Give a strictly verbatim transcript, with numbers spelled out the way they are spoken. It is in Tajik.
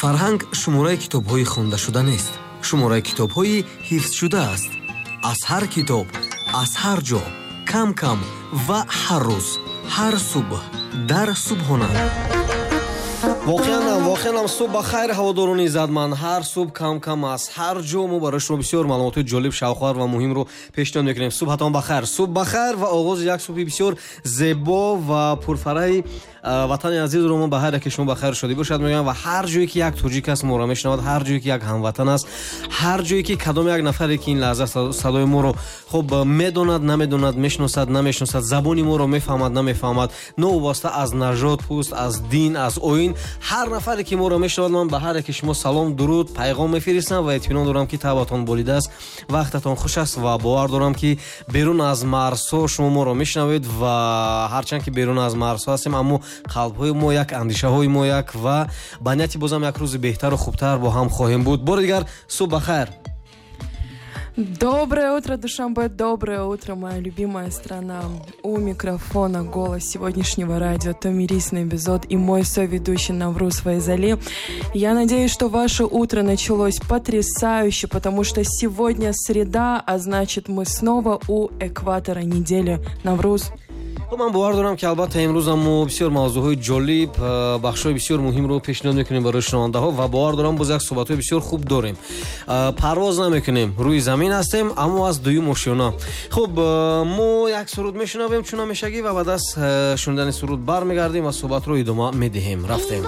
Фарҳанг шумораи китобҳои хондашуда нест, шумораи китобҳои ҳифзшуда аст. Аз ҳар китоб, аз ҳар ҷо, кам кам ва ҳар рӯз, ҳар субҳ дар Субҳона. Воқеан ҳам, воқеан ҳам, субҳ ба хайр, ҳаводорони иззатманд. Ҳар субҳ кам кам аз ҳар ҷо мо барои шумо бисёр маълумотҳои ҷолиб, шавқовар ва муҳимро пешниҳод мекунем. Субҳатон ба хайр, субҳ ба хайр ва оғози як субҳи бисёр зебо ва пурфараҳи ватани азизро мо ба ҳар яке шумо ба хайру шодӣ бошад мегӯям. Ва ҳар ҷое ки як тоҷик аст, моро мешунавад, ҳар ҷое ки як ҳамватан аст, ҳар ҷое ки кадом як нафаре ки ин лаҳза садои моро хуб медонад, намедонад, мешиносад, намешиносад, забони моро мефаҳмад, намефаҳмад, новобаста аз нажод, пӯст, аз дин, аз оин, ҳар нафаре ки моро мешунавад, ман ба ҳар яке шумо салом, дуруд, пайғом мефиристам ва итминон дорам, ки табъатон болидааст, вақтатон хуш аст ва бовар дорам, ки берун аз марзҳо шумо моро мешунавед. Ва ҳарчанд ки берун аз марзҳо ҳастем, аммо қалбҳои мо як, андешаҳои мо як ва ба нияти бозам як рӯзи беҳтару хубтар бо ҳам хоҳем буд. Бори дигар субҳ ба хайр. Доброе утро, Душанбе, доброе утро, моя любимая страна. У микрофона голос сегодняшнего радио Томирис Набизод и мой соведущий Навруз Файзали. Я надеюсь, что ваше утро началось потрясающе, потому что сегодня среда, а значит, мы снова у экватора недели. Навруз. Хуб, ман бовар дорам, ки албатта имрӯзам мо бисёр мавзӯъҳои ҷолиб, э, бахшҳои бисёр муҳимро пешниҳод мекунем барои шунавандаҳо ва бовар дорам, боз як суҳбатҳои бисёр хуб дорем. э, парвоз намекунем, рӯи замин ҳастем, аммо аз дуюм ошёна. Хуб, э, мо як суруд мешунавем чун ҳамешагӣ ва баъд аз шунидани суруд бармегардем ва суҳбатро идома медиҳем. Рафтем.